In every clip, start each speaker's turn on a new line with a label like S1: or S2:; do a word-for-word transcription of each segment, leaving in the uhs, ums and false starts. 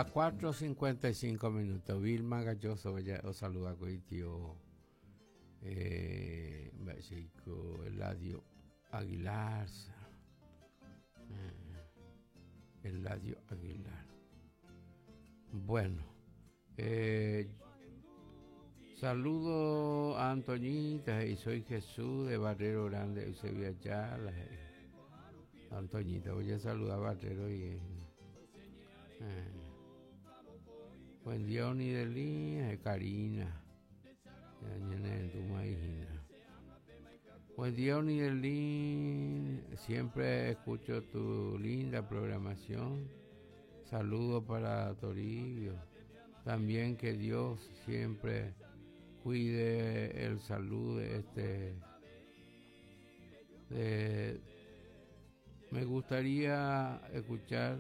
S1: Las cuatro cincuenta y cinco minutos. Vilma Galloso os saluda con tío eh, Eladio Aguilar. Eh, Eladio Aguilar. Bueno, eh, saludo a Antoñita y soy Jesús de Barrero Grande, Eusebio Ayala. Antoñita, voy a saludar a Barrero y eh, buen día, Onidelí, Karina. Buen día, Onidelí. Siempre escucho tu linda programación. Saludo para Toribio. También que Dios siempre cuide el salud de este. De, me gustaría escuchar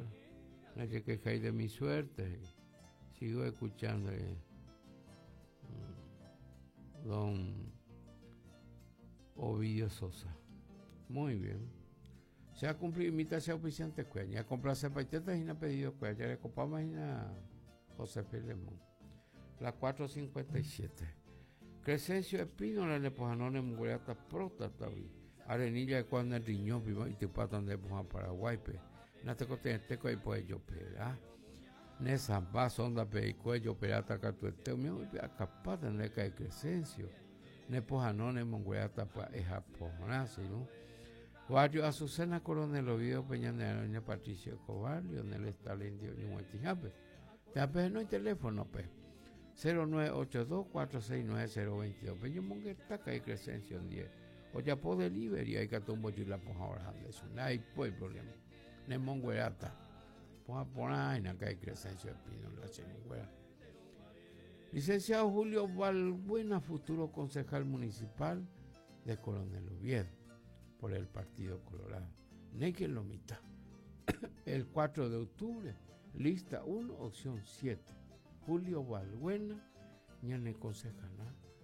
S1: no se quejáis de mi suerte. Sigo escuchando. Eh, don Ovidio Sosa. Muy bien. Se ha cumplido invitación auspiciante cueña. Complace paitetas y no ha pedido cueña. Le copamos a José Filemón. La cuatro cincuenta y siete. Crescencio Espínola le pojanone mugreata próstata. Arenilla de cuando el riñón y te patan de poja Paraguay. Natecoteco y pues yo pera. Nesa base onda pe y cuello perata catueteo mío y acapata neca de Crescencio. Nepojanone mongreata pa eja pojona, ¿no? Barrio Azucena Coronel Oviedo Peña de Patricio Escobar, Leonel Stalin Dio Ñuetijape. Te no hay teléfono, pe. cero nueve ocho dos cuatro seis nueve cero veintidós. Peño Monguetaca y Crescencio diez. O ya po delivery hay que tumbo yo la poja ahora de su no hay pues problema. Ne monguerata. Poja por ahí acá hay Crescencio Espino la chingüera. Licenciado Julio Balbuena, futuro concejal municipal de Coronel Oviedo por el Partido Colorado. Neque lo mitad. El cuatro de octubre, lista uno, opción siete. Julio Balbuena, ñane concejal,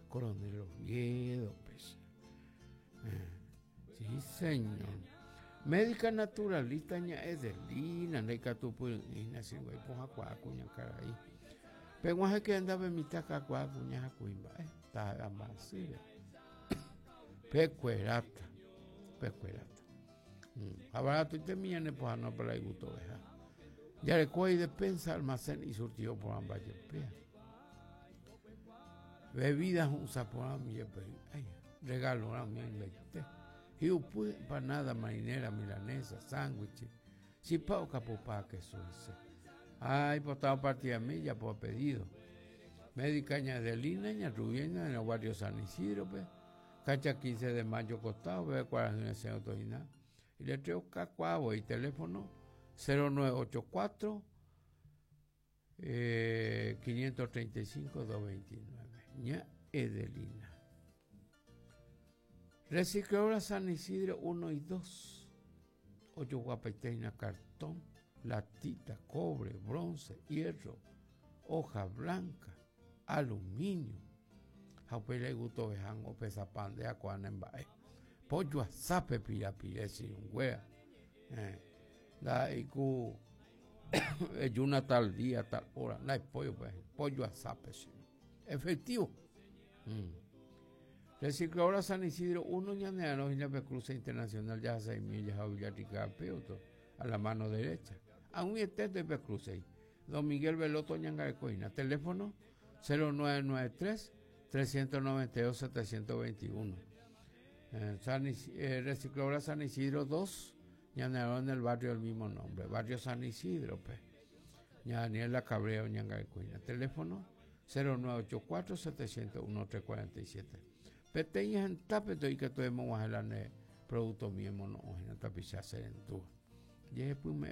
S1: Coronel Oviedo, pues. Eh, sí, señor. Médica naturalista ña Edelina, neca tupu ina sin güey, poja cuacuña caray. Pero que andaba en mitad cuacuña jacuimba, eh, está más pecuerata, pecuerata. Abarato y temía ne poja no para el gusto veja. Ya le cuey despensa, almacén y surtido por ambas yepea. Bebidas un sapor ay, regalo a mi inverté. Y empanada marinera, milanesa, sándwiches, si pao capupá que suce. Ay, pues estaba partida milla por pedido. Médica ña de Lina, ña Rubiena, en el barrio San Isidro, pues. Cacha quince de mayo costado, ve cuál es el señor. Y le traigo cacuabo y teléfono cero nueve ocho cuatro eh, quinientos treinta y cinco doscientos veintinueve. Ña Edelina. Recicladora San Isidro uno y dos. Ocho guapeteina, cartón, latita, cobre, bronce, hierro, hoja blanca, aluminio. Jaupele gusto vejango pesa pan de acuanembae. Pollo azape pirapire sin wea. La iku una tal día, tal hora. No hay pollo, pues. Pollo azape, sí. Efectivo. Mm. Recicladora San Isidro uno, ñaneano, y la Cruce Internacional, ya seis millas a Villarrica, Peuto, a la mano derecha. A un estete de Cruce. Don Miguel Veloto Ñangarecoina. Teléfono cero nueve nueve tres, trescientos noventa y dos, setecientos veintiuno. Eh, San eh, Recicladora San Isidro dos, ñaneano en el barrio del mismo nombre. Barrio San Isidro, pues. Ñaniela Cabreo Ñangarecoina. Teléfono cero nueve ocho cuatro, setecientos uno, trescientos cuarenta y siete. Peteñas en tapeto y que tuvimos a la producto mismo no en tapiza serentúa. Y después me